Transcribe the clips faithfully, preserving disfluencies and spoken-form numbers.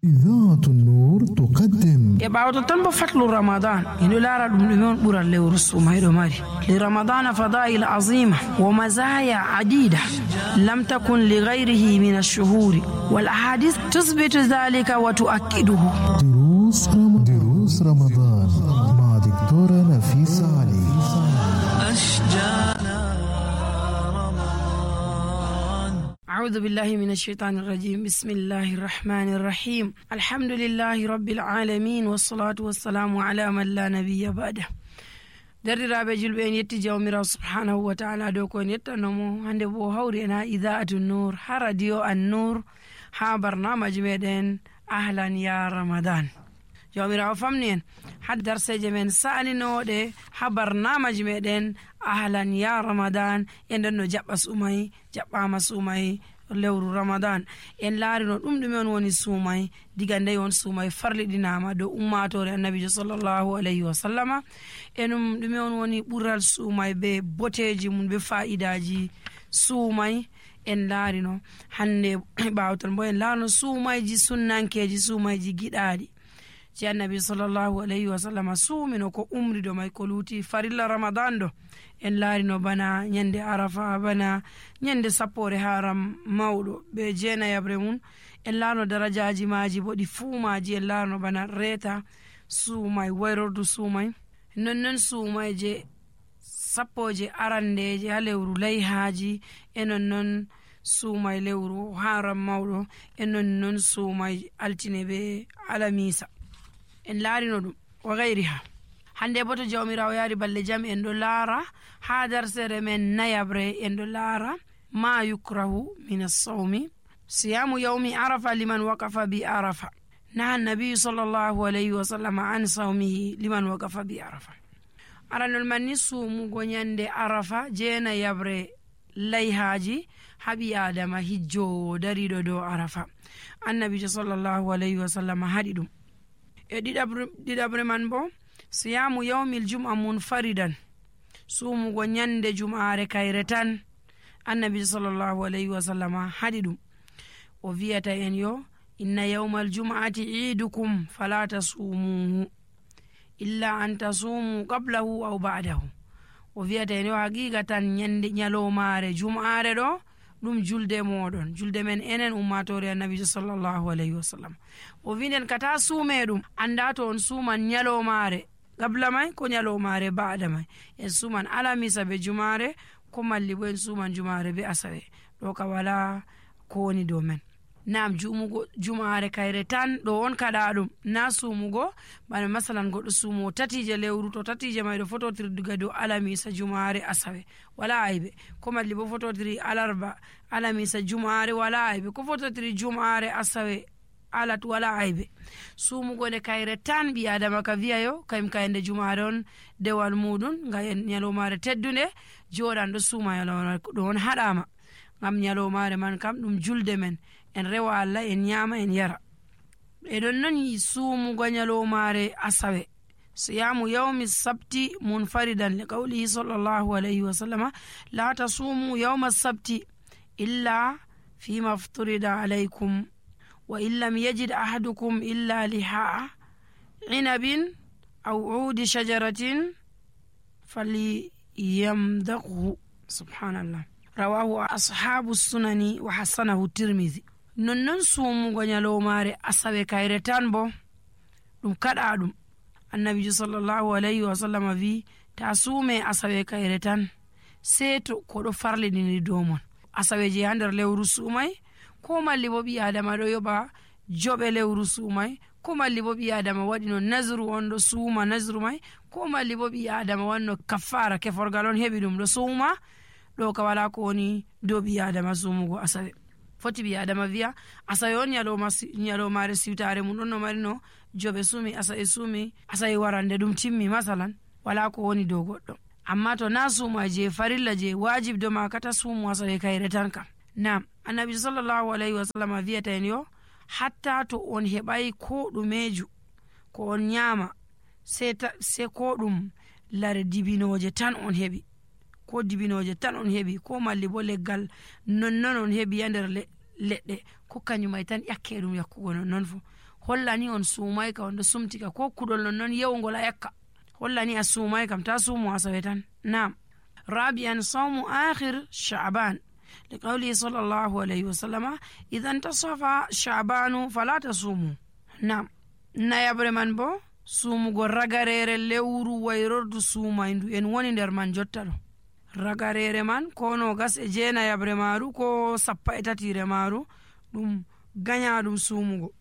إذاعة النور تقدم يبعد تنبو فتل رمضان إنه لا رد مليون برا اللي ورسو ما يدماري لرمضان فضائل عظيمة ومزايا عديدة لم تكن لغيره من الشهور والأحاديث تثبت ذلك وتؤكده. دروس رمضان دروس رمضان مع دكتورة نفيسة علي. أعوذ بالله من الشيطان الرجيم. بسم الله الرحمن الرحيم. الحمد لله رب العالمين والصلاة والسلام على من لا نبي بعده. دررابه julbe en yetti jawmirawo subhanahu wa ta'ala dow ko en yettanomo hande bo hawri en ha idaatu nur ha radio an-nur ha barnamaji meɗen ahlan ya ramadan. jawmirawo famni en ha darseje men sa'aninoɗe ha barnamaji meɗen ahlan ya ramadan en nden no jaɓɓa sumay jaɓɓama sumay lewru ramadan en laarino ɗum ɗume on woni suumay diga nde on suumay farliɗinama dow ummatore annabijo sallllahu alayhi wa sallama enum ɗume on woni ɓural suumay be boteji mum be fa'idaji suumay en laarino hande ɓawton bo en laarino suumayji sunnankeji suumayji giɗaɗi ci annabi sallllahu alayhi wa sallama suumino ko umrido may ko luuti farilla ramadan ɗo en laarino bana ñande arafa bana ñande sappore haram mawɗo be jeenayabre mum en laarno darajaji maji bo ɗi fuumaji en laarno bana reeta suumay wayrordu suumay nonnon suumayje sappoje arandeje ha lewru layhaji e nonnon suumay lewru haram mawɗo e nonnon suumay altine be alamisa en laarino ɗum wa gayriha. hande bo to jawmirawo yaari balle jam en ɗo laara ha darsere men nayabre en ɗo laara ma yukrahu min as-sawmi siyamu yawmi arafa liman waqafa bi arafa naha nabiyu sallllahu alayhi wa sallam an sawmihi liman waqafa bi arafa. aranol manni suumugo ñande arafa jeena yabre layhaji haɓi adama hijjowo dariɗo dow arafa annabijo sallllahu alayhi wa sallam haɗi ɗum e ɗiɗabre man bo siyamu yawmil jum'a munfaridan suumugo ñande jum'are kayre tan annabi sallllahu alayhi wa sallam haɗi ɗum o wiyata en yo inna yawmal jum'ati iidukum fala tasumuhu illa an tasumu qablahu aw ba'dahu. o wiyata en yo haqiqa tan ñande ñalomare jum'are ɗo ɗum julde moɗon julde men enen ummatore annabijo sallllahu alayhi wa sallam. o winden kata suume ɗum anda to on suuman ñalomare gabla may ko ñalomare baɗa may en suman alamisa be jumare ko malli bo en suman jumare be asawe ɗo ka wala ko woni dow men. nam jumugo jumare kayre tan ɗo on kaɗa ɗum na sumugo bana masalan goɗɗo sumo tatije lewru to tatije may ɗo fototiri diga dow alamisa jumare asawe wala aybe ko malli bo fototiri alarba alamisa jumare wala aybe ko fototiri jumare asawe alat wala aybe sumugo nde kayre tan ɓi adama ka wiyayo kayim kayende jumare on dewal muɗum ga ñalomare teddunde joɗan ɗo suuma ñalomare ɗo on haɗama gam ñalomare man kam ɗum julde men en rewa Allah en ñama en yara. e ɗon noon suumugo ñalomare asawe siyamu yawmi sabti munfaridan li qawlihi sallllahu alayhi wa sallama la tasumu yawma sabti illa fima fturida alaykum wa in lam yajid ahadukum illa lihaa inabin aw uudi shajaratin falyamdaqhu. subhanallah rawahu ashabu sunani wa hasanahu tirmidhi. nonnon suumugo ñalomare asawe kayre tan bo ɗum kaɗa ɗum annabijo sallllahu alayhi wa sallam wi ta suume asawe kayre tan sei to koɗo farliɗini dow mon asawe je ha nder lewru suumay ko malli bo ɓi adama ɗo yoɓa joɓe lewru suumay ko malli bo ɓi adama waɗino nasru on ɗo suuma nasru may ko malli bo ɓi adama wanno kaffara keforgal on heɓi ɗum ɗo suuma ɗo ka wala ko woni dow ɓi adama suumugo asawe. foti ɓi adama wiya asawe on ñalomare siwtare mum ɗon no marino joɓe suumi asawe suumi asawe warande ɗum timmi masalan wala ko woni dow goɗɗo. amma to na suuma je farilla je wajib do ma kata suumu asawe kayre tan kam. nam annabi sallllahu alayhi wa sallam wiyata en yo hatta to on heɓay ko ɗumeju ko on ñama se ko ɗum lare dibinoje tan on heɓi ko dibinoje tan on heɓi ko malli bo leggal nonnon on heɓi ya nder leɗɗe ko kañumay tan ƴakke ɗum yakkugo non non fu hollani on suumay ka on ɗo sumtika ko kuɗol non non yewugol a yakka hollani a suumay kam ta suumu asawe tan. Naam. rabi'an sawmu akhir sha'ban liqawli sallallahu alayhi wa sallama idan tasafa sha'banu fala tasumu. Naam. nayabre man bo suumugo ragarere lewru wayrordu suumayndu en woni nder man jotta ɗo. ragarere man ko nogas e jeenayabre maaru ko sappa e tatire maaru ɗum ganya ɗum suumugo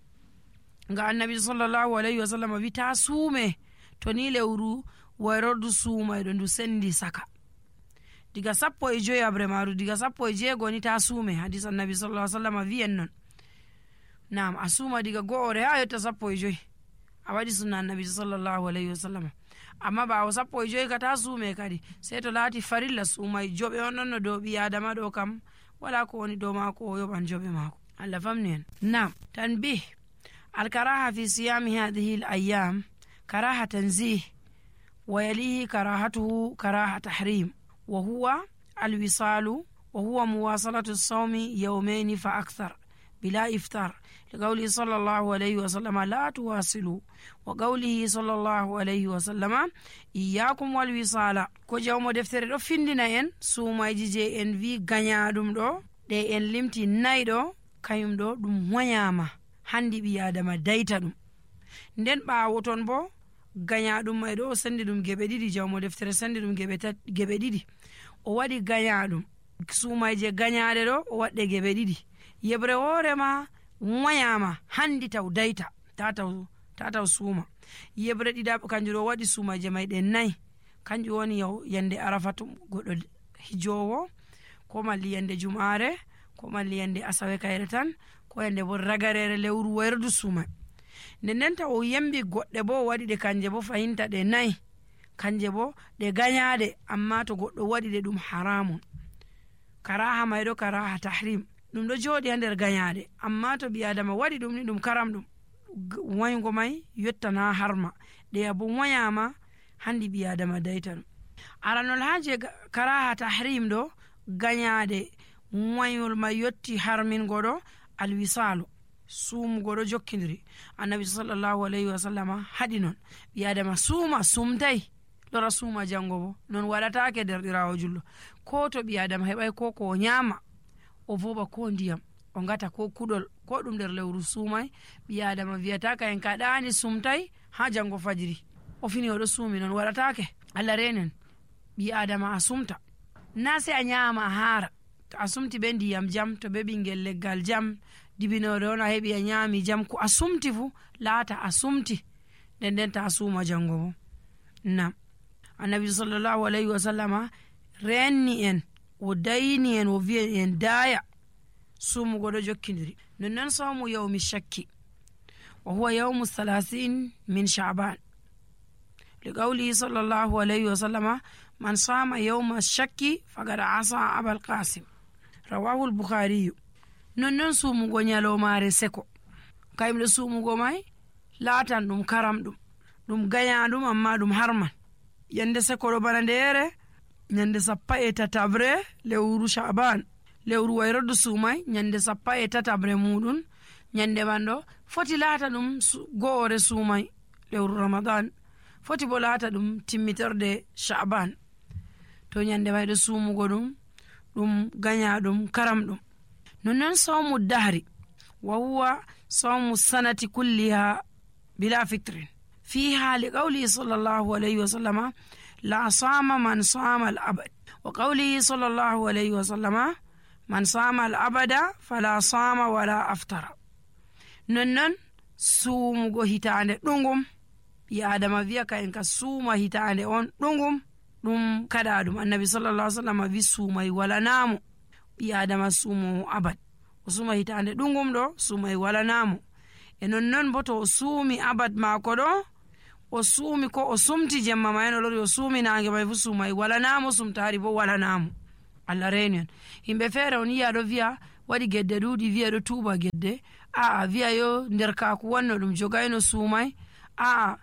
nga annabi sallallahu alayhi wa sallam wi ta suume to ni lewru wayrordu suumayɗo ndu sendi saka diga sappo e joyabre maaru diga sappo e jeego ni ta suume. hadis annabi sallallahu alayhi wa sallam wi'en non. Naam. a suuma diga go'ore ha yotta sappo e joyi a waɗi sunna annabi sallallahu alayhi wa sallam. amma ɓawo sappo e joyi ka ta suume kadi sey to laati farilla suumay joɓe on ɗon no dow ɓi adama ɗo kam wala ko woni dow maako o yoɓan joɓe maako. Allah famni en. Naam. tanbih الكراهة في صيام هذه الأيام كراهة تنزيه ويليه كراهته كراهة تحريم وهو الوصال وهو مواصلة الصوم يومين فأكثر بلا إفطار لقوله صلى الله عليه وسلم لا تواصلوا وقوله صلى الله عليه وسلم إياكم والوصال ko jawmo deftere ɗo findina en suumayji je en wi gañaɗum ɗo ɗe en limti nayi ɗo kañum ɗo ɗum woñama handi ɓi adama dayta ɗum. nden ɓawo ton bo gañaɗum may ɗo o sendi ɗum geɓe ɗiɗi jawmo deftere sendi ɗum geɓe ɗiɗi o waɗi gañaɗum suumayje gañaɗe ɗo o waɗɗe geɓe ɗiɗi yebre hoorema woñama handi taw dayta tataw tataw suuma yebre ɗiɗaɓe kanjum ɗo waɗi suumayje may ɗe nayi kanjum woni yande arafatu goɗɗo hijowo ko malli yande jumare ko malli yande asawe kayre tan ko yande bo ragarere lewru wayrdu suuma nde nden taw o yembi goɗɗe bo o waɗi ɗe kanje bo fahinta ɗe nayi kanje bo ɗe gañaɗe amma to goɗɗo waɗi ɗe ɗum haramun. karaha mayɗo karaha tahrim ɗum ɗo jooɗi ha nder gañaɗe amma to ɓi adama waɗi ɗum ni ɗum karam ɗum waygo may yottana harma ɗeya bo woyama handi ɓi adama dayta ɗum. aranol haje karaha tahrim ɗo gañaɗe wayol may yotti harmingo ɗo alwisalu suumugo ɗo jokkidiri annabi sallallahu alayhi wa sallama haɗi non ɓi adama suuma sumtay lora suuma jango bo non waɗatake derɗirawo jullo ko to ɓi adama heɓay ko ko o ñaama o voɓa ko ndiyam o gata ko kuɗol ko ɗum nder lewru suumay ɓi adama wiyataka en kaɗani sumtay ha jango fajiri o fini oɗo suumi non waɗatake. Allah renen ɓi adama a sumta na se a ñaama a haara to a sumti ɓe ndiyam jam to ɓe ɓingel leggal jam dibinore on a heɓi a ñaami jam ko a sumti fu laata a sumti nden nden ta a suuma jango bo. nam annabi sallallahu alayhi wa sallama renni en o dayni en o wi'i en daaya suumugo ɗo jokkidiri nonnon sawmu yawmi shakki wa huwa yawmu thalathine min sha'ban liqawlihi sallallahu alayhi wa sallama man sama yawma shakki faqad asa abal qasim rawahu al-bukhari. nonnon suumugo ñalomare seko kayimɗo suumugo may laatan ɗum karam ɗum ɗum gaña ɗum amma ɗum harman yande seko ɗo bana ndere ñande sappa e tatabre lewru sha'ban lewru wayrodu suumay ñande sappa e tatabre muɗum ñande man ɗo foti laata ɗum go'ore suumay lewru ramadan foti bo laata ɗum timmitorde sha'ban to ñande may ɗo suumugo ɗum ɗum gaña ɗum karam ɗum. nonnon sawmu dahri wa huwa sawmu sanati kulliha bila fitrin fiha liqawlihi sallallahu alayhi wa sallama la sama man sama al abad wa qawlihi sallallahu alayhi wa sallama man sama al abada fala sama wala aftara. nonnon suumugo hitande ɗungum ɓi adama wiya ka en ka suuma hitande on ɗungum ɗum kaɗa ɗum annabi sallallahu alayhi wa sallama wi suumay wala naamo ɓi adama suumo abad o suuma hitande ɗungum ɗo suumay wala naamo e nonnon bo to o suumi abad maako ɗo o suumi ko o sumti jemma ma en o lori o suumi nange may fu suumay wala naamo sumtaari bo wala naamo. Allah reeni en yimɓe feere on yiya ɗo wiya waɗi gedde ɗuuɗi wiya ɗo tuuba gedde aa wiya yo nder kaaku wanno ɗum jogayno suumay aa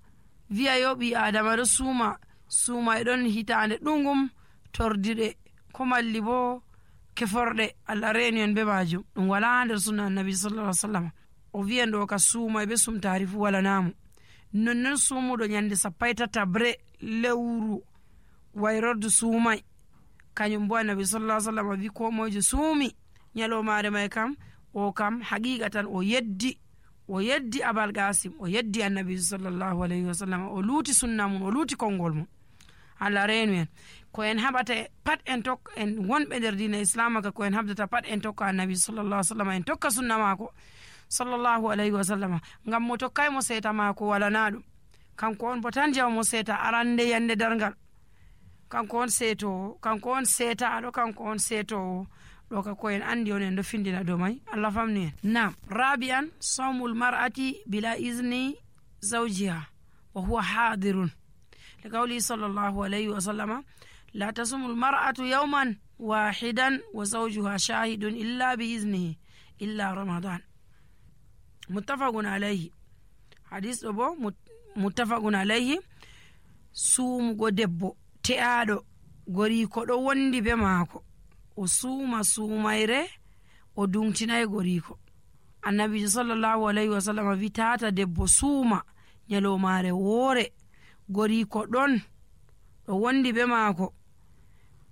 wiya yo ɓi adama ɗo suuma suumay ɗon hitande ɗungum tordiɗe ko malli bo keforɗe Allah reeni en be majum ɗum wala nder sunna annabi sallallahu alaihi wasallam. O wi'en ɗo ka suumay be sumtaari fu wala naamu. nonnon suumuɗo ñande sappo e tatabre lewru wayrordu suumay kañum bo annabi sallallahu alaihi wasallam wi ko moyjo suumi ñalomare may kam o kam haqiqatan o yeddi o yeddi abal qasim o yeddi annabi sallallahu alaihi wasallam o luuti sunna mun o luuti konngol mun. Allah reenu en ko en haɓata pat en tokka en wonɓe nder dina islam ka ko en habdata pat en tokka annabi sallallahu alaihi wasallam en tokka sunna maako sallallahu alaihi wasallam ngam mo tokkay mo seeta maako wala na ɗum kanko on bo tan jaw mo seeta arande yande dargal kanko on seeto kanko on seetaɗo kanko on seetowo ɗo ka ko en andi on en ɗo findina dow may Allah famni en. Nam rabi'an sawmul mar'ati bila izni zawjiha wa huwa hadirun لقوله صلى الله عليه وسلم لا تصوم المرأة يوما واحدا وزوجها شاهد إلا بإذنه إلا رمضان متفق عليه. حديث أبو متفق عليه. سوم دebbo te'aɗo goriko ɗo wondi be maako o suuma suumayre o dungtinayi goriko. annabi sallallahu alaihi wasallam wi tata debbo suuma ñalomare woore goriko ɗon ɗo wondi be maako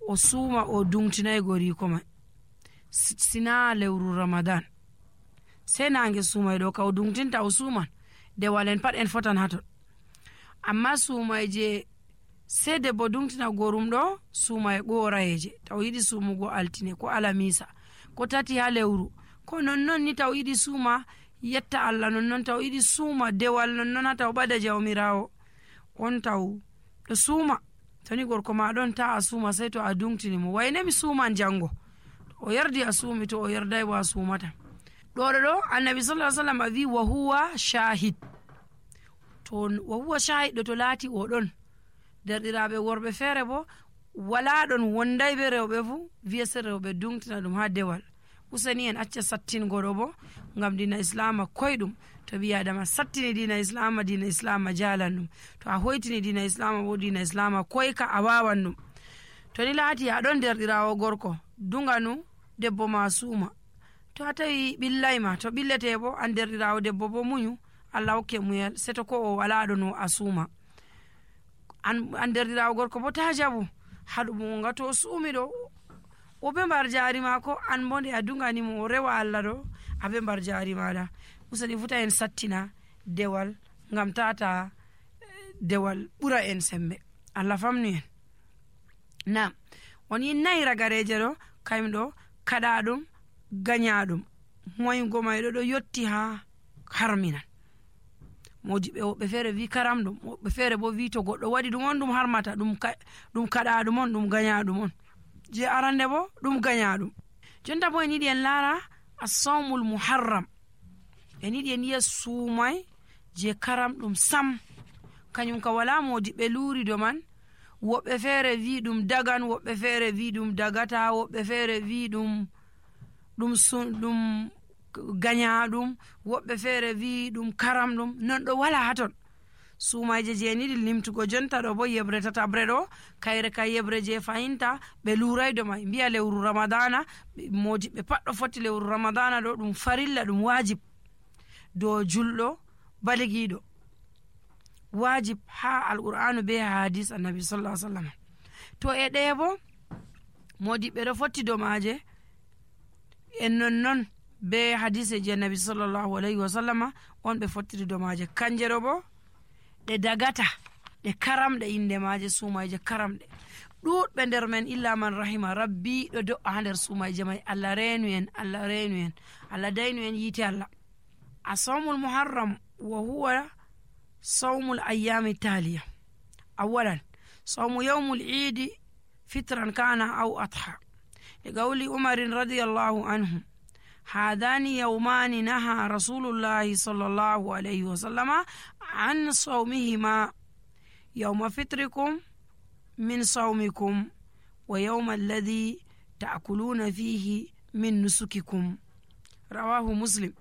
o suuma o dungtinayi goriko mai sina lewru ramadan sei nange suumay ɗo ka o dungtinta o suuman dewal en pat en fotan haton. amma suumay je sei debbo dungtina gorum ɗo suumay ɓorayeje taw yiɗi suumugo altine ko alamisa ko tati ha lewru ko nonnon ni taw yiɗi suuma yetta Allah nonnon taw yiɗi suuma dewal nonnon ha taw ɓada jawmirawo on taw ɗo suuma toni gorko ma ɗon ta a suuma sei to a dungtini mo wayne mi suuman jango o yardi a suumi to o yarday bo a suumata. ɗoɗo ɗo annabi sallallahu alaihi wasallam wi wa huwa shahid to wa huwa shahid ɗo to laati o ɗon derɗiraɓe worɓe feere bo wala ɗon wonday be rewɓe fu wiya se rewɓe dungtina ɗum ha dewal. useni en acca sattingo ɗo bo ngam dina islama koyɗum to ɓi adama sattini dina islama dina islama jalan ɗum to a hoytini dina islama bo dina islama koyka a wawan ɗum. to ni laati aɗon derɗirawo gorko dunganu debbo ma suuma to a tawi ɓillayma to ɓillete bo an derɗirawo debbo bo muñu Allah hokke muyal seto ko o wala ɗo no a suuma an, an derɗirawo gorko bo ta jabu haɗum nga to suumi ɗo o ɓe mbar jaari mako an bo nde a dunganimo o rewa Allah ɗo a ɓe mbar jaari maɗa. usani futa en sattina dewal ngam tata dewal ɓura en sembe. Allah famni en. nam woni nayi ragareje ɗo kayum ɗo kaɗa ɗum gaña ɗum moygo mayɗo ɗo yotti ha harminan. modi ɓe woɓɓe feere wi karam ɗum woɓɓe feere bo wi to goɗɗo waɗi ɗum on ɗum harmata ɗum ɗum kaɗa ɗum on ɗum gaña ɗum on je arande bo ɗum gaña ɗum. jonta bo en yiɗi en laara as-sawmul muharram en yiɗi en yiya suumay je karam ɗum sam kañum ka wala modi ɓe luuri do man. woɓɓe feere wi ɗum dagan woɓɓe feere wi ɗum dagata woɓɓe feere wi ɗum ɗum ɗum gaña ɗum woɓɓe feere wi ɗum karam ɗum non ɗo wala haton. suumayje je niɗi limtugo jonta ɗo bo yebre tatabre ɗo kayre ka yebre je fahinta ɓe luuraydo may mbiya lewru ramadana modi ɓe pat ɗo foti lewru ramadana ɗo ɗum farilla ɗum wajib dow julɗo baligiɗo wajib ha alqur'anu be hadis annabi sallallahu alaihi wasallam. to e ɗe bo modi ɓe ɗo fotti domaje en nonnon be hadise je annabi sallallahu alaihi wasallam on ɓe fottiri domaje kanje ɗo bo ɗe dagata ɗe karamɗe inde maje suumayje karamɗe ɗuɗɓe nder men illa man rahima rabbi ɗo do'a ha nder suumayje may. Allah reenu en Allah reenu en Allah daynu en yiite Allah. asawmul muharram wa huwa sawmul ayyami taliya. awalan sawmu yawmul idi fitran kana aw adha liqawli umarin radiyallahu anhu هذان يومان نهى رسول الله صلى الله عليه وسلم عن صومهما يوم فطركم من صومكم ويوم الذي تأكلون فيه من نسككم رواه مسلم.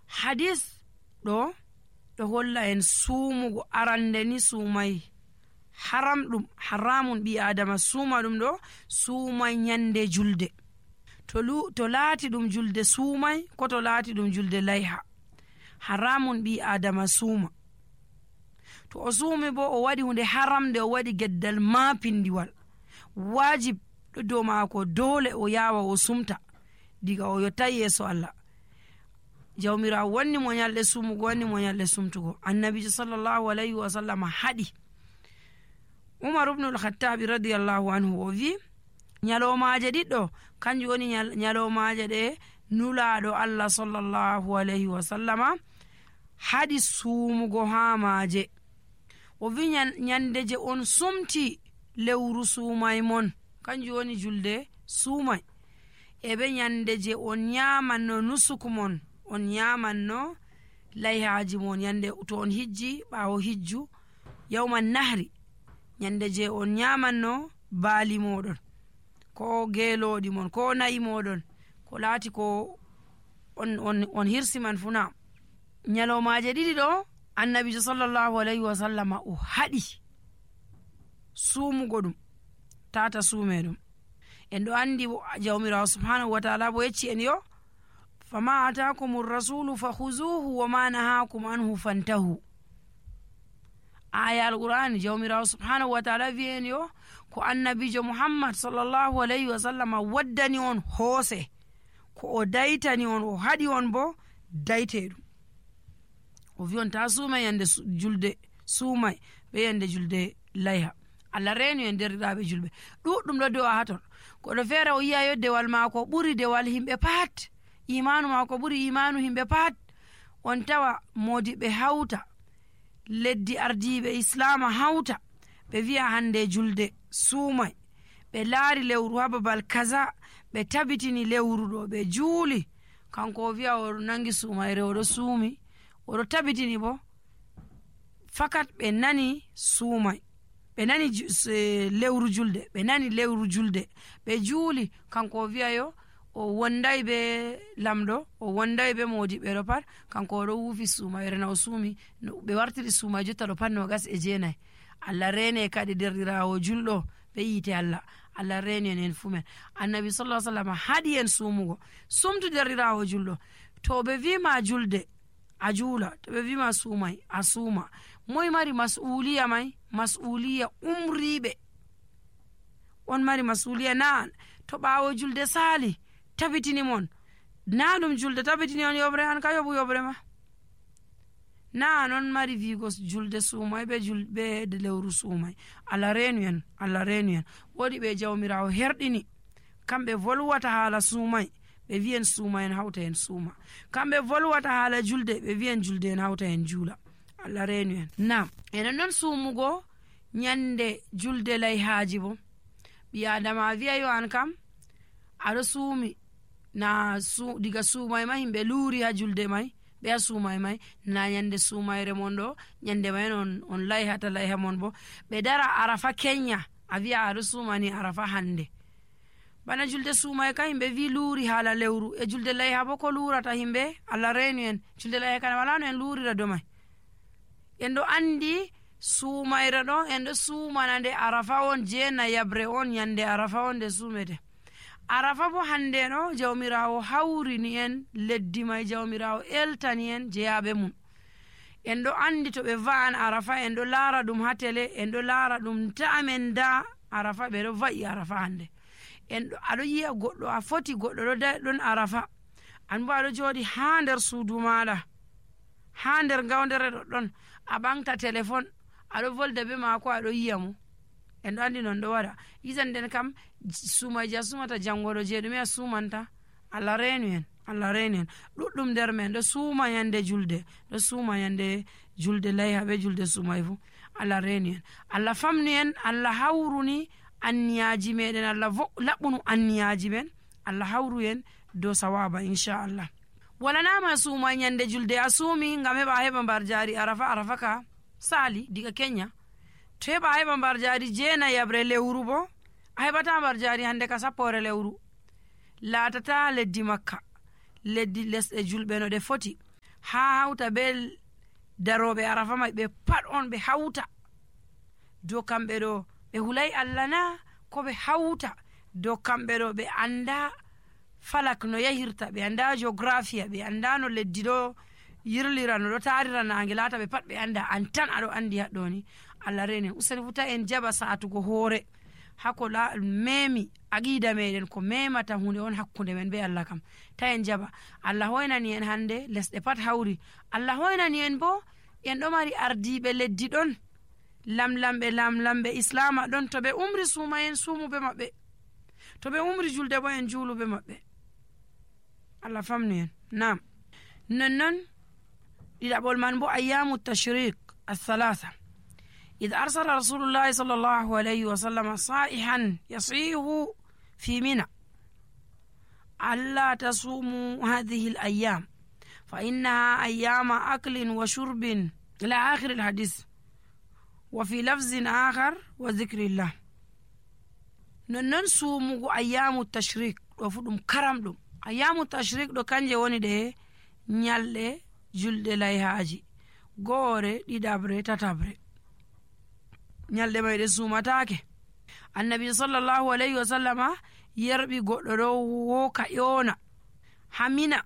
حديث دو دو هولا en suumugo arande ni suumay haram ɗum haramun ɓi adama suuma ɗum ɗo suuma nyande julde. to, to laati ɗum julde suumay ko to laati ɗum julde layha, haramun ɓi adama suuma. To o suumi bo o waɗi hunde haramde, o waɗi geddal maapindiwal, wajib ɗo dow maako, dole o yawa o sumta diga o yottay yeeso Allah. jawmirawo wanni mo nyalɗe sumugo, wanni mo nyalɗe sumtugo. annabijo sallallahu alayhi wa sallam haɗi. umar ibnul khattabi radiyallahu anhu o wi nyalomaje ɗiɗɗo kanjum woni nyalomaje ɗe nulaɗo Allah sallallahu alayhi wa sallama haɗi sumugo ha maje. o wi nyande je on sumti lewru suumay mon, kanjum woni julde suumay, e be nyande je on nyamanno nusuku mon, on nyamanno layhaji mon, yande to on hijji ɓawo hijju yawman nahri, nyande je on nyamanno baali moɗon ko geeloɗi mon ko nayi moɗon ko laati ko on, on, on hirsi man funa. nyalomaje ɗiɗi ɗo annabijo sallallahu alayhi wa sallama o haɗi sumugo ɗum, tata suume ɗum. en ɗo andi jawmirawo subhanahu wa taala bo yecci en yo fama atakum rasulu fahuzuhu wama nahakum anhu fantahu. aya alqur'ani jawmirawo subhanahu wa taala wi en yo ko annabijo muhammad sallallahu alayhi wa sallama waddani on hoose, ko o daytani on o haɗi on bo dayte ɗum. o wi on ta suumay yande julde suumay be yande julde layha. Allah reeni en derɗiraɓe julɓe ɗuɗɗum ɗo do'a ha ton. koɗo feere o yiya yo dewal maako ɓuri dewal himɓe pat, imanu maako ɓuri imanu himɓe pat. on tawa modiɓe hawta, leddi ardiɓe islama hawta, ɓe wiya hande julde suumay, ɓe laari lewru ha babal kaza, ɓe tabitini lewru ɗo, ɓe juuli, kanko o wiya o nangi suumayre, oɗo suumi, oɗo tabitini bo fakat ɓe nani suumay, ɓe nani lewru julde, ɓe nani lewru julde, ɓe juuli, kanko o wiya yo o wonday be lamɗo, o wonday be modiɓɓe ɗo pat, kanko oɗo wuufi suumayre na o suumi, ɓe wartiri suumay jotta ɗo pat nogas e jeenayi. Allah rene kadi derɗirawo julɗo be yite Allah, Allah reni en en fumen. annabi sallallahu alaihi wasallam haɗi en sumugo, sumtu derɗirawo julɗo. to ɓe wima julde a juula, to ɓe wima suumay a suuma. moy mari mas'uliya may? mas'uliya umriɓe on mari mas'uliya. na to ɓawo julde saali tabitini mon, na ɗum julde tabitini on yobre, an ka yoɓu yobre ma. na non mari wigo julde suumay be julbe de lewru suumay. Allah reenu en, Allah reenu en. woɗi ɓe jawmirawo herɗini kamɓe volwata haala suumay, ɓe wiyen suuma en hawta en suuma. kamɓe volwata haala julde, ɓe wiyen julde en hawta en juula. Allah reenu en. nam enen noon suumugo nyande julde layhaji bo, ɓi adama wiya yo an kam aɗo suumi na su, diga suumay ma himɓe luuri ha julde may, ɓe a suumay may na nyande suumayre mon ɗo, nyande may on, on layhata layha mon bo ɓe dara arafa kenya, a wiya aɗo suumani arafa hande. bana julde suumay ka himɓe wi luuri haala lewru, e julde layha bo ko luurata himɓe. Allah reenu en. julde layha kana wala no en luurira do may. en ɗo andi suumayre ɗo en ɗo suumana nde arafa on, jeena yabre on nyande arafa on nde suumete. arafa bo hande no jawmirawo hawrini en leddi may, jawmirawo eltani en jeyaɓe mum. en ɗo andi to ɓe va'an arafa en ɗo laara ɗum ha tele, en ɗo laara ɗum ta'amen da arafa, ɓe ɗo va'i arafa hande. en ɗo aɗo yiya goɗɗo a foti goɗɗo ɗo da ɗon arafa, an bo aɗo jooɗi ha nder suudu maɗa, ha nder gawdere ɗoɗɗon, a ɓamta téléphone aɗo volda be maako, aɗo yiya mo. en ɗo andi non ɗo waɗa. yisan nden kam suumaji a sumata jangoɗo je ɗume a sumanta. Allah reenu en, Allah reenu en. ɗuɗɗum nder men ɗo suuma yande julde, ɗo suuma yande julde layha be julde suumay fu. Allah reenu en. Allah famni en, Allah hawruni anniyaji meɗen, Allah laɓɓunu anniyaji men, Allah hawru en dow sawaba inchallah. walanama suuma yande julde a suumi ngam heɓa a heɓa mbar jari arafa. arafa ka saali diga kenya, to heɓa a heɓa mbar jari jeena yabre lewru bo a heɓata mbar jari hande ka sappore lewru. laatata leddi makka, leddi lesɗe julɓe no ɗe foti ha hawta be daroɓe arafa may ɓe pat on ɓe hawta dow kamɓe ɗo ɓe hulay Allah na, ko ɓe hawta dow kamɓe ɗo ɓe anda falak no yahirta, ɓe anda geographia, ɓe anda no leddi ɗo yirlira, no ɗo tarira nange, laata ɓe pat ɓe anda, an tan aɗo andi haɗɗoni. Allah renen useni futa en jaɓa satugo hoore hako la memi aqida meɗen ko memata hunde on hakkunde men be Allah kam, ta en jaɓa. Allah hoynani en hande lesɗe pat hawri, Allah hoynani en bo en ɗo mari ardiɓe leddi ɗon, lamlamɓe lamlamɓe islama ɗon, to ɓe umri suuma en suumuɓe maɓɓe, to ɓe umri julde bo en juuluɓe maɓɓe. Allah famnu en. Nam nonnon ɗiɗaɓol man bo ayyamu tashrik athalatha إذ أرسل رسول الله صلى الله عليه وسلم صائحا يصيح في منى ألا تصوموا هذه الأيام فإنها أيام أكل وشرب إلى آخر الحديث، وفي لفظ آخر وذكر الله. ننن سومو أيام التشريك وفدم كرم دم أيام التشريك دو كانجي وني ده نيالde julde layhaji goore ɗiɗabre tatabre, ñalɗe may ɗe suumatake. Annabi sallallahu alayhi wa sallama yerɓi goɗɗo ɗo woka ƴoona hamina,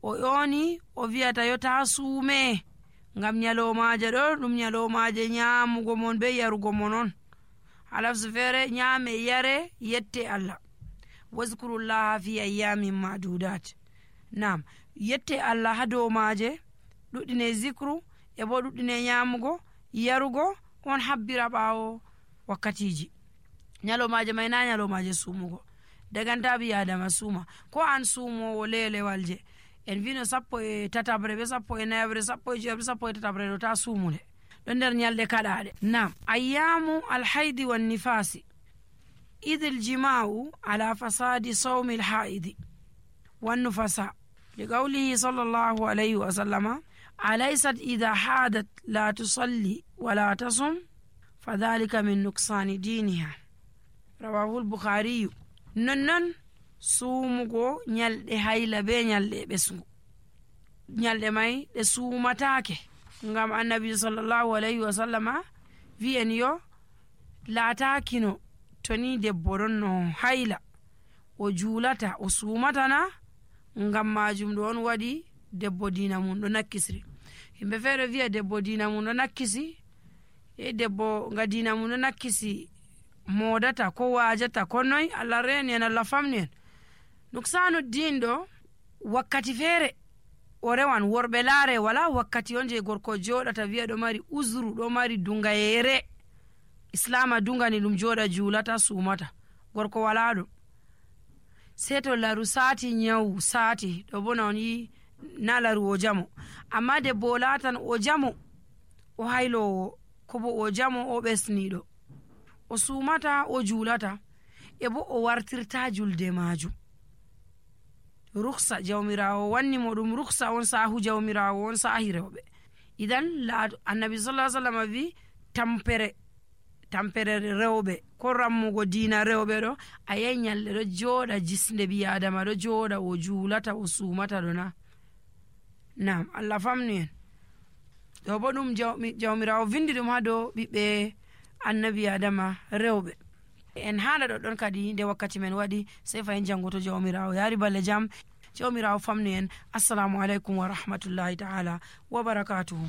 o ƴooni o wiyata yo ta suume ngam ñalomaje ɗo ɗum ñalomaje ñaamugo mon be yarugo mon on. halafsu feere ñaame yare yette Allah. wazkurullaha fi ayyamin madudat. Nam yette Allah ha dow maaje, ɗuɗɗine zikru e bo ɗuɗɗine ñaamugo yarugo on habbira ɓaawo wakkatiji. ñalomaje may na ñalomaje suumugo, daganta bi adama suuma, ko an suumowo lelewal je en vino sappo e tatabre be sappo e nayabre sappo e jeebre sappo e tatabre ɗo ta suumule ɗo nder ñalɗe kaɗaɗe. Nam ayyamu alhaidi wan nifasi idh aljima'u ala fasadi sawmi alhaidi wan nufasa liqawlihi sallallahu alayhi wa sallama alaysat idha hadat la tusalli wala tasum fadhalika min nuksani diniha, rawahu al-bukhari. nonnon suumugo ñalɗe hayla be ñalɗe ɓesgu, ñalɗe may ɗe suumatake ngam annabi sallallahu alayhi wa sallama wi'en yo laatakino to ni debbo ɗon no hayla o juulata o suumatana, ngam majum ɗo on waɗi debbo dina mum ɗo nakkisri. Himɓe feere wi'a debbo dina mum ɗo nakkisi, e debbo nga dina mum ɗo nakkisi modata ko wajata ko noy. Allah reni en, Allah famni en. nuksanu din ɗo wakkati feere o rewan worɓe laare wala wakkati on je gorko joɗata wi'a ɗo mari uzru, ɗo mari dungayere, islama dungani ɗum joɗa juulata suumata, gorko wala ɗum. sei to laru sati nyawu sati ɗo bona on yi na laru o jamo, amma debbo o latan o jamo o haylowo ko bo o jamo o ɓesniɗo, o suumata o juulata e bo o wartirta julde majum. ruksa jawmirawo wanni mo ɗum ruksa on, sahu jawmirawo on sahi rewɓe. idan laato annabi sallallahu alaihi wasallam wi tampere tampere rewɓe ko rammugo diina rewɓe ɗo a yahi ñalɗe ɗo jooɗa jisnde ɓi adama ɗo jooɗa o juulata o suumata ɗo na. Nam Allah famni en. ɗo bo ɗum jawmirawo vindi ɗum ha dow ɓiɓɓe annabi adama rewɓe. en haala ɗo ɗon kadi nde wakkati men waɗi, sei fayin jango to jawmirawo yaari balle jam. jawmirawo famni en. assalamu aleykum wa rahmatullahi ta'ala wa barakatuhu.